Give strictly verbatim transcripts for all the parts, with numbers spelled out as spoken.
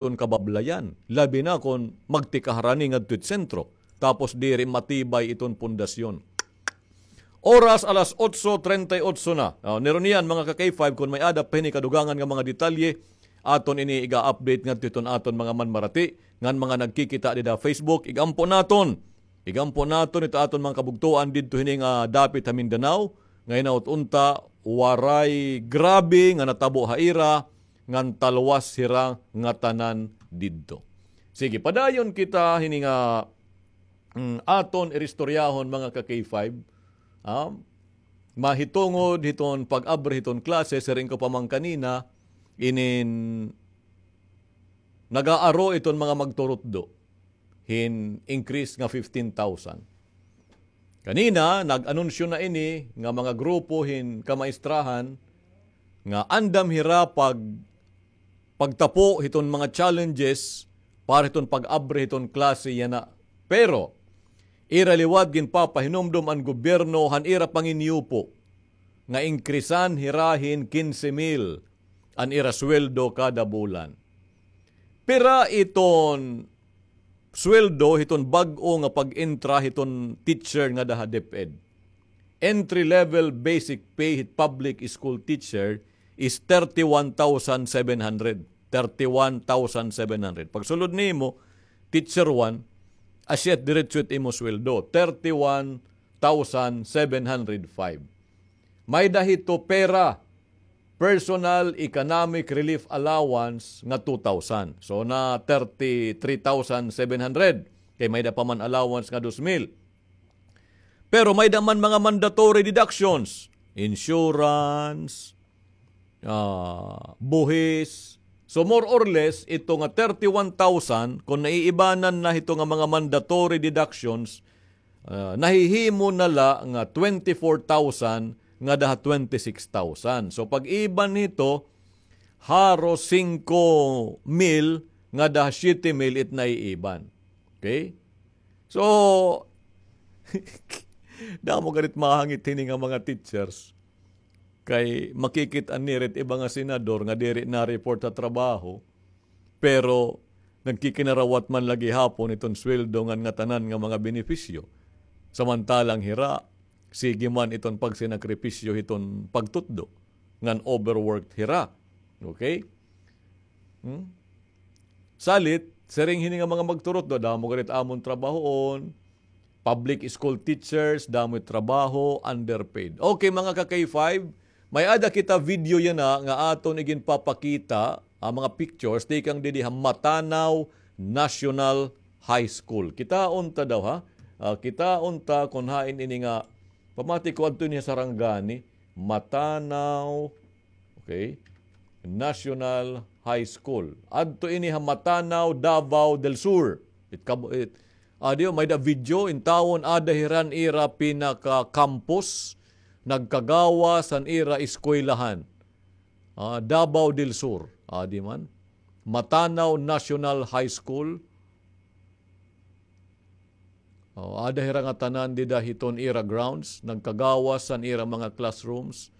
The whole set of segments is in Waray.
iton kabablayan, labi na kon magtikahar ini ngadto it sentro, tapos diri matibay iton pundasyon. Oras alas otso treinta y ocho na. Ah, nirunian, mga ka-K five, kon may-ada pa hini kadugangan nga mga detalye, aton ini iga-update ngadto hiton aton mga manmarati, ngan mga nagkikita dida Facebook, igampo naton. Igampo naton ito aton mga kabugtoan didto hini nga dapit ha Mindanao, nga hinaot unta, waray grabe nga natabo ha ira, ngan talwas hira ngatanan didto. Sige, padayon kita hini nga, mm, aton iristoryahon, mga ka-K five. Ah, mahitungod hiton pag-abri hiton klase, siring ko pa man kanina, inin nag-aaro iton mga magturutdo hin increase nga fifteen thousand. Kanina, nag-anunsyo na ini nga mga grupo hin kamaistrahan nga andam hira pag-, pagtapo hiton mga challenges para hiton pag-abri hiton klase yana. Pero, ira liwat ginpapahinumdom an gobyerno han ira panginyupo nga inkrisan hira hin kinse mil an ira sweldo kada bulan. Pira iton sweldo hiton bag-o nga pag-entra hiton teacher ngada ha DepEd? Entry level basic pay hit public school teacher is thirty-one thousand seven hundred. Thirty-one thousand seven hundred. Pagsulod nimo, teacher one, asya it diretso it imo sweldo, thirty-one thousand seven hundred five. May-ada hito pera, personal economic relief allowance nga two thousand. So, na thirty-three thousand seven hundred. Kay may-ada pa man allowance nga dos mil. Pero may-ada man mga mandatory deductions, insurance, ah, buhis. So, more or less, ito nga thirty-one thousand, kung naiibanan na hito nga mga mandatory deductions, ah, nahihimo na la nga twenty-four thousand ngada ha twenty-six thousand. So, pag-iban hito, haros singko mil ngada ha siyete mil it naiiban. Okay? So, damo gad it mahangit hini nga mga teachers. Kay makikit-an nira it iba nga senador nga diri na-report ha trabaho, pero nagkikinarawat man la gihapon iton sweldo ngan ngatanan nga mga benepisyo. Samantalang hira, sige man iton pagsinakripisyo hiton pagtutdo ngan overworked hira. Okay? Hmm? Salit, siring hini nga mga magturutdo, damo gad it amon trabahoon, public school teachers, damo it trabaho, underpaid. Okay, mga ka-K five, may-ada kita video yana nga aton iginpapakita, ah, mga pictures, tikang didi ha Matanao National High School. Kitaon ta daw, ha? Ah, kitaon ta kon hain ini nga, pamati ko adto ini ha Sarangani, Matanao Okay? National High School. Adto ini ha Matanao, Davao del Sur. It kab-, it, ah, di, may-ada video, intawon ada hira han ira pinaka-campus, nagkagawas han ira eskwelahan. Ah, Davao del Sur. Ah, di man. Matanao National High School. O, ada hira ngatanan dida hiton ira grounds, nagkagawas han ira mga classrooms.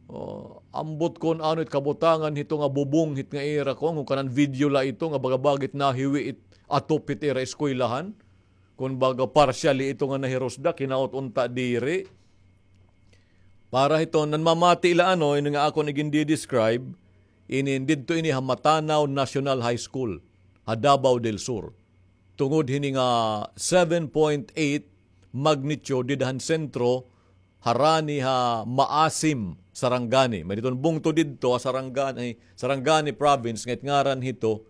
O, ambot kon ano it kabutangan hito nga bubong hit nga ira, kon, kon kanan video la ito nga baga-baga it nahiwi it atop hit ira eskwelahan. Kon baga partially ito nga nahirusdak, hinaot unta diri. Para hiton nanmamati la ano, ini nga akon igindi-describe, inin didto ini ha Matanao National High School, ha Davao del Sur. Tungod hini nga seven point eight magnitude dida han sentro, harani ha Maasim, Sarangani. May diton bungto didto ha Sarangani, Sarangani Province, nga it ngaran hito,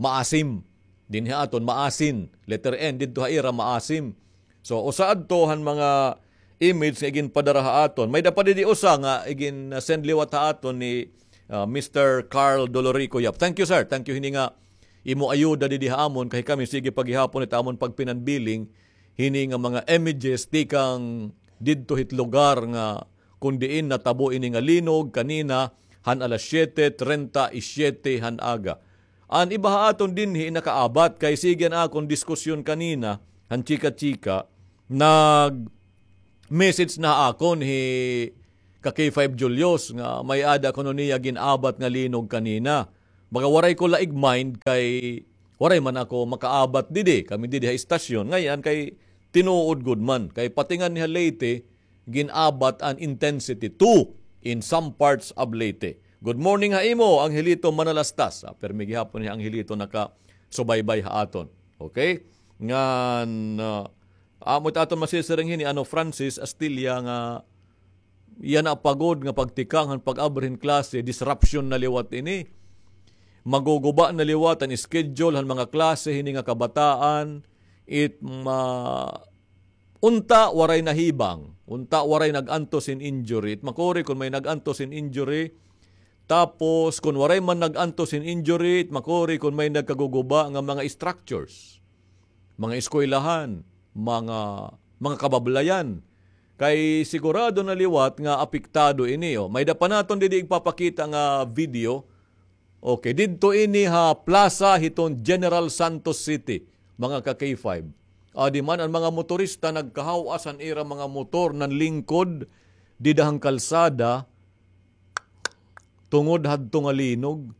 Maasim. Dinhi ha aton, Maasin. Letter N, didto ha ira, Maasim. So, usa adto han mga image nga iginpadara ha aton. May-ada pa didi usa nga igin-, ah, send liwat ha aton ni, ah, Mister Carl Dolorico Yap. Thank you, sir. Thank you hini nga imo ayuda didi ha amon, kay kami, sige pa gihapon it amon pagpinanbiling hini nga mga images tikang didto hit lugar nga kon diin natabo ini nga linog kanina han alas siyete treinta y siete han aga. An iba ha aton dinhi nakaabat, kay sige an akon diskusyon kanina, han chika-chika, nag-message na ha akon hi ka K five Julius nga may-ada kuno niya gin-abat nga linog kanina. Baga waray ko laig mind kay waray man ako makaabat didi, kami didi ha istasyon. Ngay-an kay tinuod gud man, kay pati nganhi ha Leyte, gin-abat an intensity two in some parts of Leyte. Good morning ha imo, Angelito Manalastas. Ah, permi gihapon ni Angelito nakasubaybay ha aton. Okay? Ngan, ah, amo it aton masisiring hini, ano, Francis Astilla nga yana pa gud nga pagtikang han pag-abri hin klase, disruption na liwat ini. Maguguba na liwat an schedule han mga klase hini nga kabataan. It ma-, unta waray nahibang, unta waray nag-antos hin injury. It makuri kon may nag-antos hin injury. Tapos, kon waray man nag-antos hin injury, it makuri kon may nagkaguguba nga mga structures, mga eskwelahan, mga, mga kabablayan. Kay sigurado na liwat nga apektado ini, oh. May-ada pa naton didi igpapakita nga video. Okay, didto ini ha plaza hiton General Santos City, mga ka-K five. Adi man an mga motorista nagkahaw-as han ira mga motor nanlingkod dida han kalsada tungod hadto nga linog.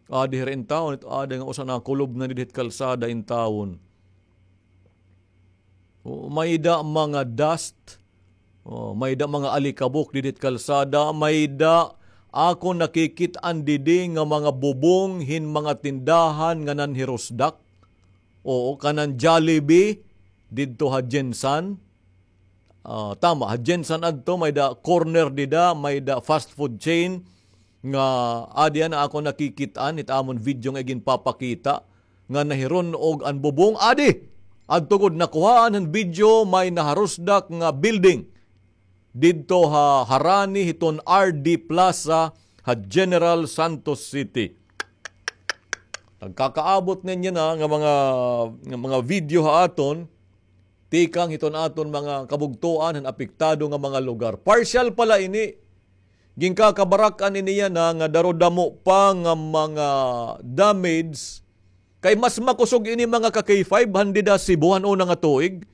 Adi hira intawon, it adi nga usa nakulob na didi hit kalsada intawon. O, may-ada mga dust. O, may-ada mga alikabok didi hit kalsada. May-ada akon nakikit-an didi nga mga bubong hin mga tindahan nga nanhirusdak. Oo, kanan Jollibee didto ha Gensan. Ah, tama, ha Gensan adto, may-ada corner dida, may-ada fast food chain nga adi an akon nakikit-an, it amon video nga iginpapakita, nga nahirun-og an bubong, adi! Adto gud, nakuhaan han video, may naharusdak nga building didto ha harani hiton R D Plaza ha General Santos City. Nagkakaabot niyan yana nga mga, nga mga video ha aton, tikang hiton aton mga kabugtoan han apektado nga mga lugar. Partial pala ini. Ginkakabarak-an ini yana nga daro damo pa nga mga damage. Kay mas makusog ini, mga ka-K five, han dida Cebu han una nga tuig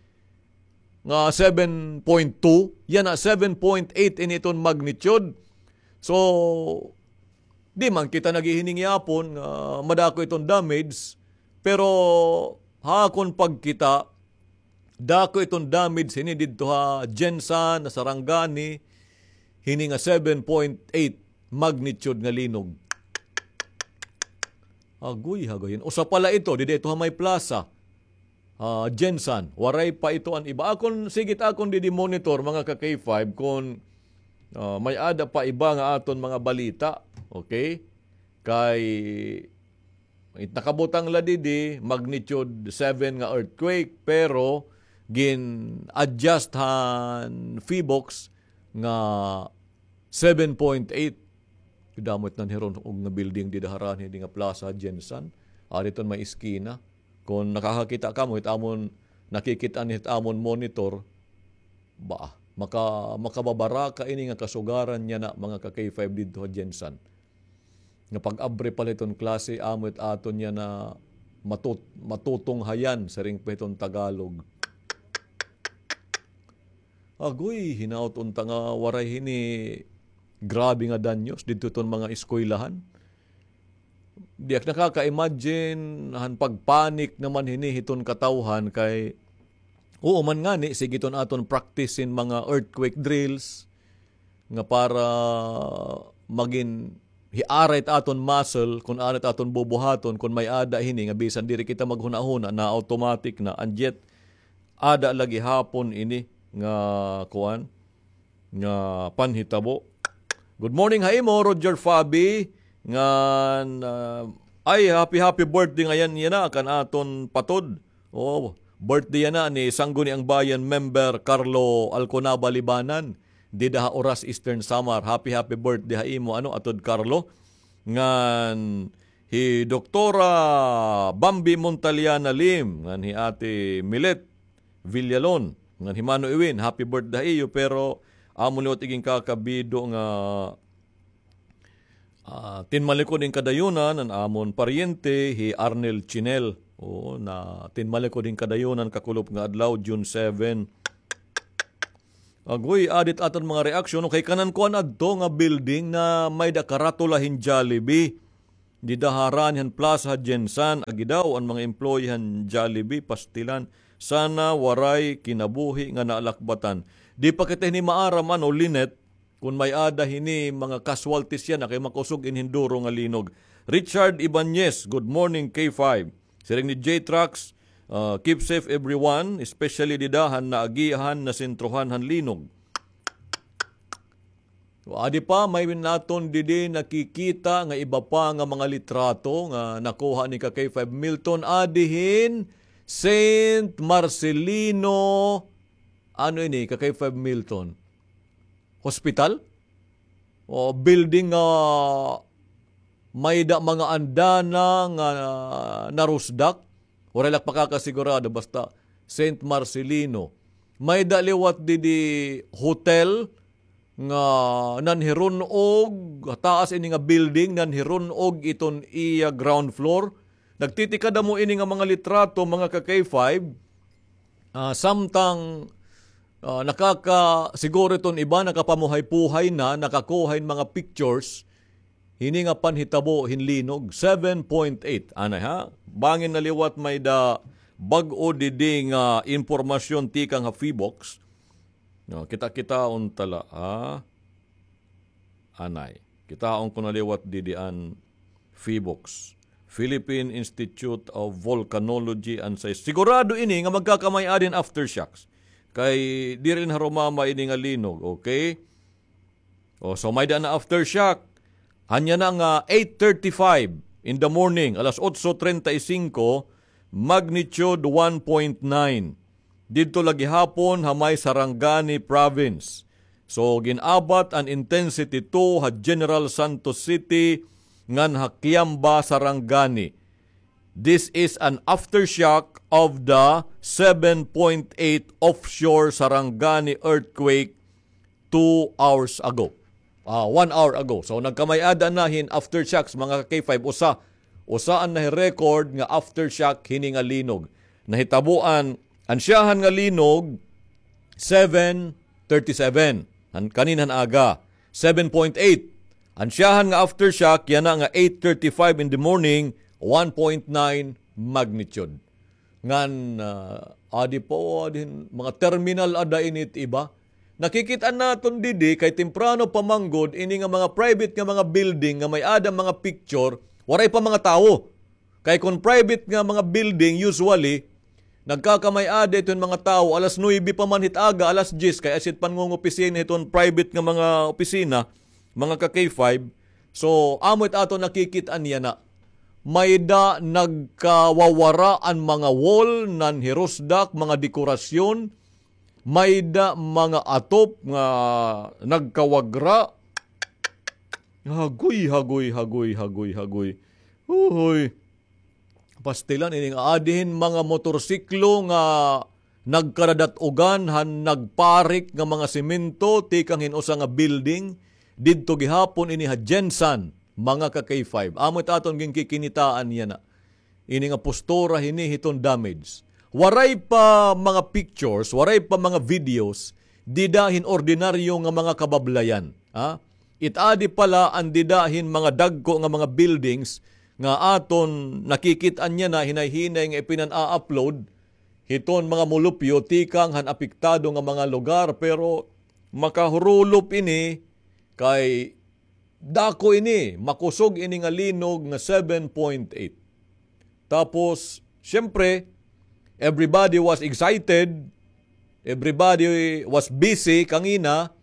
nga seven point two, yana seven point eight ini iton magnitude. So, di man kita naghihining yapon nga madako iton damage, pero ha akon pagkita, dako iton damage hini didto ha Gensan, ha Sarangani, hini nga seven point eight magnitude nga linog. Agoy, hagayon. Usa pala ito, didi ito ha may plaza. Ah, Gensan, waray pa ito an iba. Akon, sige it akon didi monitor, mga ka-K five, kon, ah, may-ada pa iba nga aton mga balita. Okay? Kay it nakabutang la didi, magnitude seven nga earthquake, pero gin-adjust han PHIVOLCS nga seven point eight. Damo it nanhirun-og nga building dida harani hini nga plaza, Gensan. Ari iton may eskina. Kon nakakakita kamo, hit amon, nakikit-an hit amon monitor, ba, maka-, makababaraka ini nga kasugaran yana, mga ka-K five, didto ha Gensan. Nga pag-abri pala hiton klase, amo it aton yana matut-, matutunghayan, siring pa hiton Tagalog. Agoy, hinaot unta nga waray hini grabe nga danyos didto hiton mga eskwelahan. Di ak nakaka-imagine han pagpanik naman hini hiton katawhan kay, oo man ngani, sige iton aton practice hin mga earthquake drills nga para magin hiaray it aton muscle, kon ano it aton bubuhaton, kon may-ada hini nga bisan diri kita maghunahuna, na automatic na, and yet, ada la gihapon ini nga kuan, nga panhitabo. Good morning ha imo, Roger Fabi. Ngan, ah, ay, happy, happy birthday ngayan yana kan aton patod. Oh, birthday yana ni Sangguniang Bayan member Carlo Alconaba Libanan, dida ha Oras, Eastern Samar. Happy, happy birthday ha imo, ano, Atod Carlo. Ngan hi Doktora Bambi Montaliana Lim, ngan hi Ate Milet Villalon, ngan hi Mano Iwin, happy birthday ha iyo, pero amo liwat iginkakabido nga, ah, tinmalikod hin kadayunan an amon paryente, hi Arnel Chinel. Oo, na tinmalikod hin kadayunan kakulop nga adlaw, June seven. Agoy, adi it aton mga reaksyon, no? Kay kanan kuan adto nga building na may-ada karatula hin Jollibee. Dida harani han plaza ha Gensan, agi daw an mga employee han Jollibee, pastilan. Sana waray kinabuhi nga nalakbatan. Di pa kita hini maaram, ano, Lynette, kon may-ada hini mga casualties yana, kay makusog ini hin duro nga linog. Richard Ibanez, good morning, K five. Siring ni J Trax, ah, keep safe everyone, especially dida han naagihan, nasentrohan han linog. Adi pa, may naton didi nakikita nga iba pa nga mga litrato nga nakuha ni ka K five Milton. Adi hin Saint Marcelino, ano ini, ka K five Milton? Hospital? O building nga may-ada mga andana nga narusdak? Waray la ak pakakasigurado, basta Saint Marcelino. May-ada liwat didi hotel nga nanhirun-og, taas ini nga building, nanhirun-og iton iya ground floor. Nagtitikadamo ini nga mga litrato, mga ka K five. Ah, samtang, ah, nakaka-, siguro iton iba, nakapamuhay-puhay na, nakakuha hin mga pictures, hini nga panhitabo hin linog, seven point eight. Anay, ha? Bangin na liwat may-ada bag-o didi nga impormasyon tikang ha PHIVOLCS. No, kita-kitaon ta la, ha? Anay. Kitaon ko na liwat didi an PHIVOLCS, Philippine Institute of Volcanology and Seis-, sigurado ini nga magkakamay-ada hin aftershocks. Kay diri na harumama ini nga linog, okay? O, so may-ada na aftershock. Ania na nga eight thirty-five in the morning, alas otso treinta y cinco, magnitude one point nine. Didto la gihapon ha may Sarangani Province. So, gin-abat an intensity two ha General Santos City ngan ha Kiamba, Sarangani. This is an aftershock of the seven point eight offshore Sarangani earthquake two hours ago. Ah, one hour ago. So, nagkamay-ada na hin aftershocks, mga ka K five, usa. Usa an nahi-record nga aftershock hini nga linog. Nahitabo an ansyahan nga linog, seven thirty-seven. Han-, kaninhan aga, seven point eight. Ansyahan nga aftershock, yana nga eight thirty-five in the morning, one point nine magnitude. Ngan, ah, adi pa, o, adi hin, mga terminal ada ini it iba. Nakikit-an naton didi, kay temprano pa man gud, ini nga mga private nga mga building nga may-ada mga picture, waray pa mga tawo. Kay kon private nga mga building, usually, nagkakamay-ada iton mga tawo, alas nuebe pa man hit aga, alas diyes, kay asya it pangungopisina hiton private nga mga opisina, mga ka K five. So, amo it aton nakikit-an yana. May-ada nagkawawara an mga wall, nanhirusdak, mga dekorasyon, may-ada mga atop nga nagkawagra. Hagoy, hagoy, hagoy, hagoy, hagoy. Uhoy. Pastilan ini nga adi hin mga motorsiklo nga nagkadadat-ugan han nagparik nga mga semento tikang hin usa nga building didto gihapon ini ha Gensan, mga ka K five. Amo it aton ginkikinitaan yana. Ini nga postura hini hiton damage. Waray pa mga pictures, waray pa mga videos, dida hin ordinaryo nga mga kabablayan. Ha? It adi pa la an dida hin mga dagko nga mga buildings nga aton nakikit-an yana hinay-hinay nga ipinan-a-upload hiton mga molupyo tikang han apektado nga mga lugar, pero makahurulop ini kay dako ini, makusog ini nga linog nga seven point eight. Tapos, siyempre, everybody was excited, everybody was busy kangina,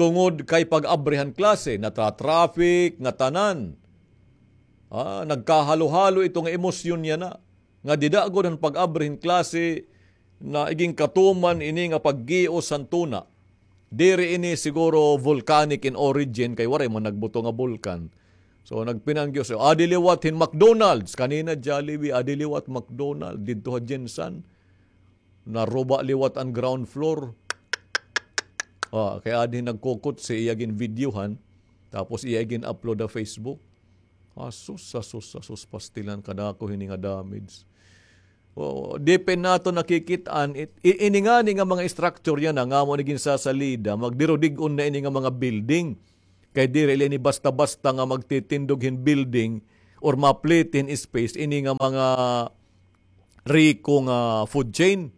tungod kay pag-abri han klase, natra-traffic, ngatanan. Ah, nagkahalo-halo ito nga emosyon yana. Nga dida gud han pag-abri hin klase, naiginkatuman ini nga paggios han tuna. Diri ini siguro volcanic in origin, kay waray man nagbuto nga bulkan. So, nagpinanggios. So, adi liwat hin McDonald's. Kanina Jollibee, adi liwat McDonald's. Didto ha Gensan. Naruba liwat an ground floor. Ah, kay adi nagkukutsi, iya ginvideohan. Tapos iya gin-upload ha Facebook. Asus, asus, asus, pastilan, kadako hini nga damage. O, depende naton nakikit-an, it, i-, ini ngani nga mga structure yana, nga amo ini ginsasalida, magdirudig-on na ini nga mga building. Kay diri la ini basta-basta nga magtitindog hin building or maplete hin space ini nga mga riko nga food chain.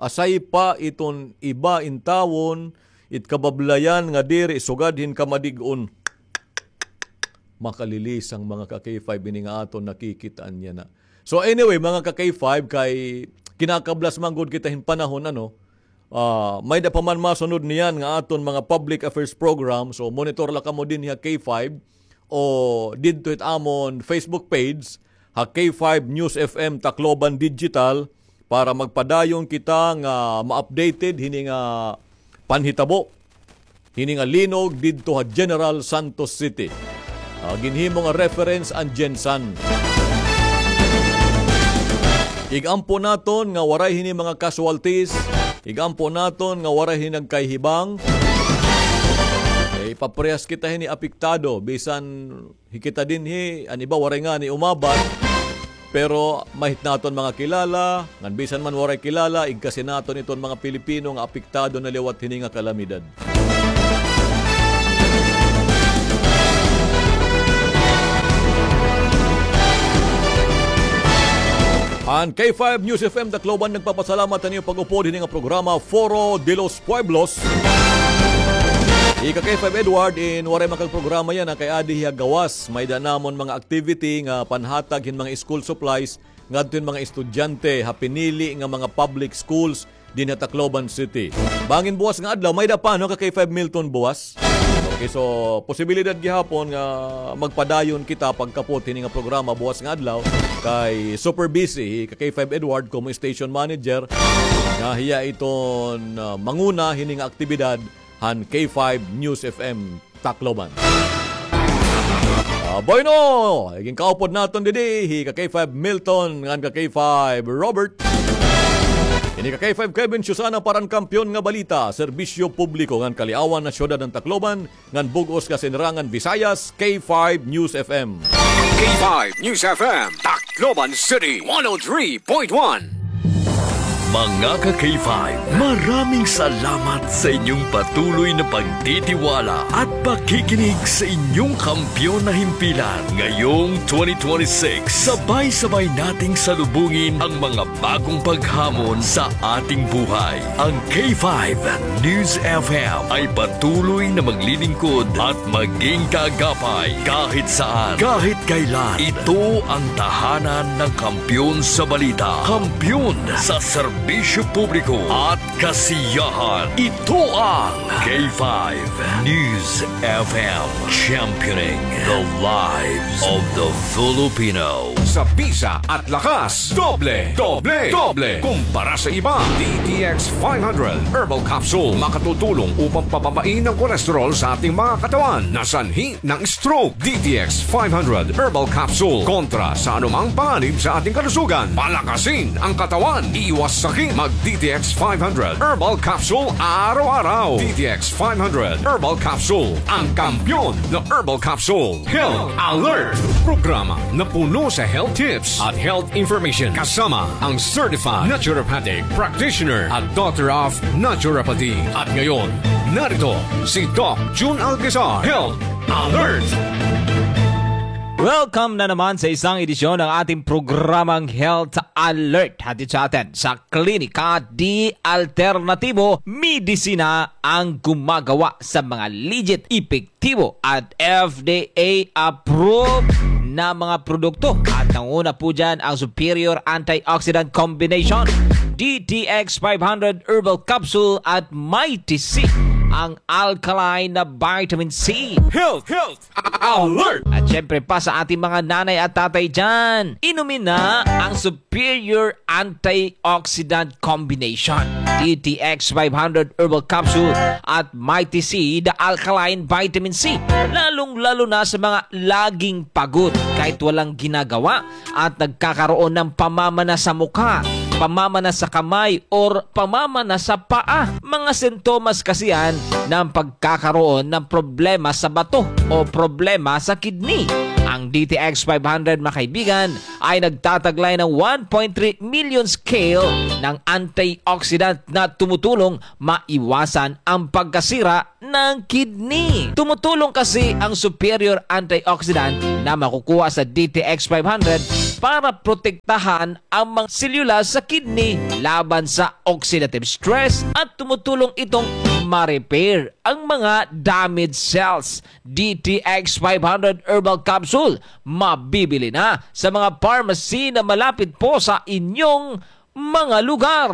Asay pa iton iba intawon, it kabablayan nga diri sugad hin kamadig-on. Makalilisang mga ka-K five ini nga aton nakikit-an yana. So anyway, mga ka-K five, kay kinakablas man gud kita hin panahon, ano, ah, may-da pa man masunod niyan nga aton mga public affairs program. So monitor la kamo dinhi ha K five o didto it amon Facebook page, ha K five News F M Tacloban Digital, para magpadayon kita nga ma-updated hini nga panhitabo, hini nga linog didto ha General Santos City. Ah, ginhimo nga reference an GenSan. Ig-ampo naton nga waray hini mga casualties, ig-ampo naton nga waray hini nagkahibang. Eh, ipaparehas kita hini apektado, bisan hi kita dinhi, an iba waray ngani umabat. Pero mahit naton mga kilala, ngan bisan man waray kilala, igkasi naton iton mga Pilipino nga apektado na liwat hini nga kalamidad. An K five News F M Tacloban nagpapasalamat han iyo pag-upod hini nga programa, Foro de los Pueblos. Ika K five Edward, in waray makagprograma yana kay adi hiya gawas. May-da namon mga activity nga panhatag hin mga school supplies ngadto hin mga estudyante ha pinili nga mga public schools dinhi ha Tacloban City. Bangin buwas nga adlaw, may-da pa, no, ka K five Milton buwas? Okay, so posibilidad gihapon nga magpadayon kita pagkapot hini nga programa buwas nga adlaw kay super busy hi ka K five Edward komo station manager nga hiya iton, ah, manguna hini nga aktibidad han K five News F M Tacloban. Ah, bueno, igin kaupod naton didi hi ka K five Milton ngan ka K five Robert. Ini ka K five Kevin Susana para han Kampiyon nga Balita, Serbisyo Publiko ngan Kaliawan han Syudad han Tacloban ngan bug-os nga Sinirangan Visayas, K five News F M. K five News F M, Tacloban City, one oh three point one. Mga ka K five, maraming salamat sa inyong patuloy na pagtitiwala at pakikinig sa inyong kampiyon na himpilan. Ngayong twenty twenty-six, sabay-sabay nating salubungin ang mga bagong paghamon sa ating buhay. Ang K five News F M ay patuloy na maglilingkod at maging kaagapay kahit saan, kahit kailan. Ito ang tahanan ng kampiyon sa balita, kampiyon sa serbisyo publiko at kasiyahan. Ito ang K five News F M, championing the lives of the Filipino. Sa bisa at lakas, doble, doble, doble kumpara sa iba. D T X five hundred Herbal Capsule makatutulong upang pababain ang kolesterol sa ating mga katawan na sanhi ng stroke. D T X five hundred Herbal Capsule kontra sa anumang panganib sa ating kalusugan. Palakasin ang katawan, iwas sakit. Mag D T X five hundred Herbal Capsule araw-araw. D T X five hundred Herbal Capsule, ang kampiyon na herbal capsule. Health Alert, programa na puno sa health tips at health information, kasama ang certified naturopathic practitioner at doctor of naturopathy. At ngayon, narito si Doc Jun Alcazar. Health Alert! Welcome na naman sa isang edisyon ng ating programang Health Alert. Hatid sa atin sa Klinika di Alternatibo Medisina, ang gumagawa sa mga legit, epektibo at F D A approved na mga produkto. At nanguna po dyan ang Superior Antioxidant Combination, D T X five hundred Herbal Capsule at Mighty C, ang alkaline na vitamin C. Health, health, alert! At syempre pa sa ating mga nanay at tatay dyan, inumin na ang Superior Antioxidant Combination, D T X five hundred Herbal Capsule at Mighty C, the alkaline vitamin C, lalong-lalo na sa mga laging pagod kahit walang ginagawa at nagkakaroon ng pamamanas sa mukha, pamamanas sa kamay, or pamamanas sa paa. Mga sintomas kasi yan ng pagkakaroon ng problema sa bato o problema sa kidney. Ang Ang D T X five hundred, mga kaibigan, ay nagtataglay ng one point three million scale ng antioxidant na tumutulong maiwasan ang pagkasira ng kidney. Tumutulong kasi ang superior antioxidant na makukuha sa D T X five hundred para protektahan ang mga selula sa kidney laban sa oxidative stress at tumutulong itong ma-repair ang mga damaged cells. D T X five hundred Herbal Capsule, mabibili na sa mga pharmacy na malapit po sa inyong mga lugar.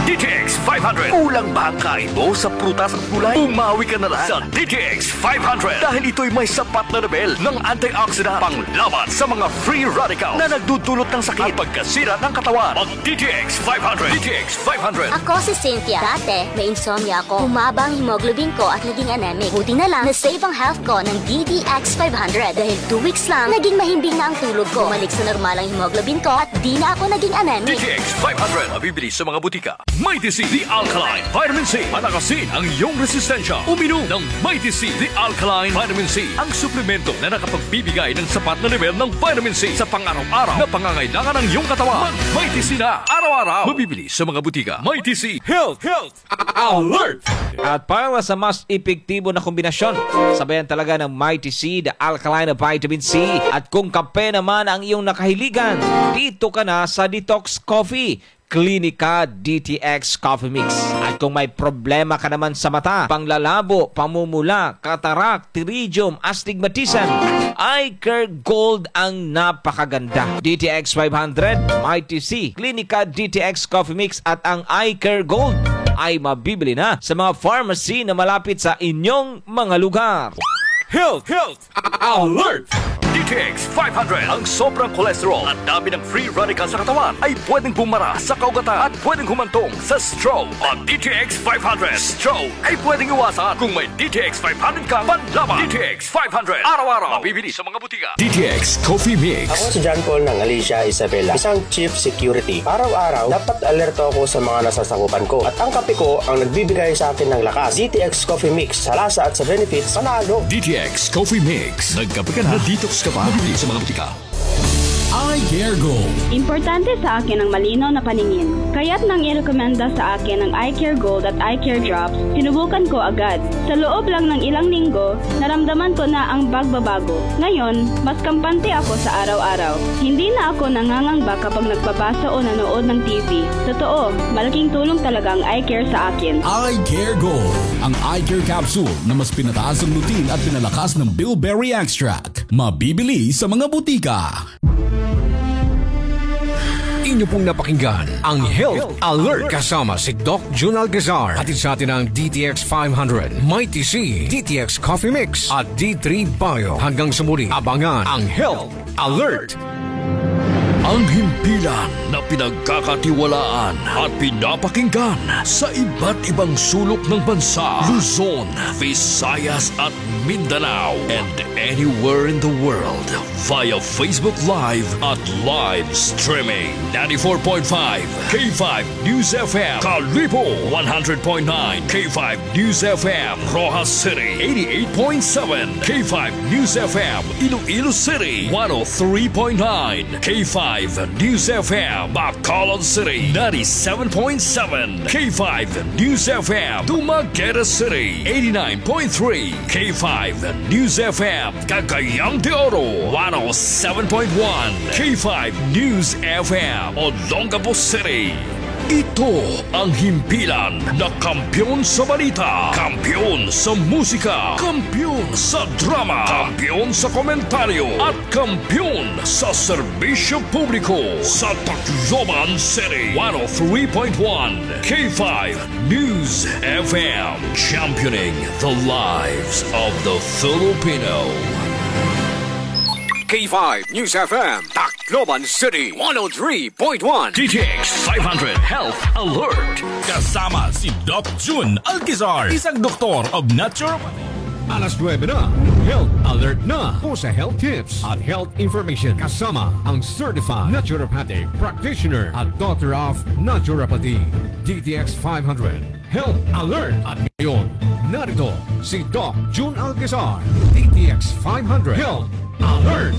D T X five hundred. Kulang ba ang kain mo sa prutas at gulay? Bumawi ka na lang sa D T X five hundred dahil ito'y may sapat na level ng antioxidant panglaban sa mga free radical na nagdudulot ng sakit at pagkasira ng katawan. Mag D T X five hundred. D T X five hundred. Ako si Cynthia. Dati, may insomnia ako. Bumaba ang hemoglobin ko at naging anemic. Buti na lang, na-save ang health ko ng D T X five hundred dahil two weeks lang, naging mahimbing na ang tulog ko. Bumalik sa normal ang hemoglobin ko at di na ako naging anemic. D T X five hundred. Mabibili sa mga butika. Mighty C, The Alkaline Vitamin C. Palakasin ang iyong resistensya. Uminom ng Mighty C, The Alkaline Vitamin C. Ang suplemento na nakapagbibigay ng sapat na level ng vitamin C sa pang-araw-araw na pangangailangan ng iyong katawan. Mag Mighty C na araw-araw. Mabibili sa mga butika. Mighty C. Health, health, alert! At para sa mas epektibo na kombinasyon, sabayan talaga ng Mighty C, The Alkaline Vitamin C. At kung kape naman ang iyong nakahiligan, dito ka na sa Detox Coffee. Klinika D T X Coffee Mix. At kung may problema ka naman sa mata, panglalabo, pamumula, katarak, pterygium, astigmatism, Eye Care Gold ang napakaganda. D T X five hundred, Mighty C, Klinika D T X Coffee Mix at ang Eye Care Gold ay mabibili na sa mga pharmacy na malapit sa inyong mga lugar. Health, health, alert! D T X five hundred. Ang sobrang cholesterol at dami ng free radical sa katawan ay pwedeng bumara sa kaugatan at pwedeng humantong sa stroke. Ang D T X five hundred, stroke ay pwedeng iwasan kung may D T X five hundred kang panlaban. D T X five hundred, araw-araw. Mabibili sa mga butika. D T X Coffee Mix. Ako si John Paul ng Alicia Isabela, isang chief security. Araw-araw, dapat alerto ako sa mga nasasakupan ko. At ang kape ko ang nagbibigay sa akin ng lakas. D T X Coffee Mix, sa lasa at sa benefits, panalo. D T X Coffee Mix. Nagkape ka na, na-detox ka pa. Mabibili sa mga butika. Eye Care Gold. Importante sa akin ang malinaw na paningin. Kaya't nang irekomenda sa akin ang Eye Care Gold at Eye Care Drops, sinubukan ko agad. Sa loob lang ng ilang linggo, naramdaman ko na ang pagbabago. Ngayon, mas kampante ako sa araw-araw. Hindi na ako nangangamba kapag nagbabasa o nanood ng T V. Totoo, malaking tulong talaga ang Eye Care sa akin. Eye Care Gold, ang eye care capsule na mas pinataas ang lutein at pinalakas ng bilberry extract. Mabibili sa mga butika. Inyo pong napakinggan ang Health Alert kasama si Doc Jun Alcazar. Hatid sa atin ng D T X five hundred, Mighty C, D T X Coffee Mix at D three Bio. Hanggang sa muli, abangan ang Health Alert. Ang himpilan na pinagkakatiwalaan at pinapakinggan sa iba't ibang sulok ng bansa, Luzon, Visayas at Mindanao, and anywhere in the world via Facebook Live at live streaming. Ninety-four point five K five News F M, Kalibo, one hundred point nine K five News F M, Roxas City, eighty-eight point seven K five News F M, Iloilo City, one oh three point nine K five News F M, Bacolod City, ninety-seven point seven K five News F M, Dumaguete City, eighty-nine point three K five News F M, Cagayan de Oro, one oh seven point one K five News F M, Olongapo City. Ito ang himpilan na kampiyon sa balita, kampiyon sa musika, kampiyon sa drama, kampiyon sa komentaryo, at kampiyon sa serbisyo publiko sa Tacloban City. One oh three point one K five News F M, championing the lives of the Filipino. K five News F M, Tacloban City, one oh three point one. D T X five hundred Health Alert. Kasama si Doc Jun Alcazar, isang doktor of naturopathy. Alas nuebe na, Health Alert na po sa health tips at health information kasama ang certified naturopathic practitioner at doctor of naturopathy, D T X five hundred Health Alert. At ngayon, narito si Doc Jun Alcazar, D T X five hundred Health Alert.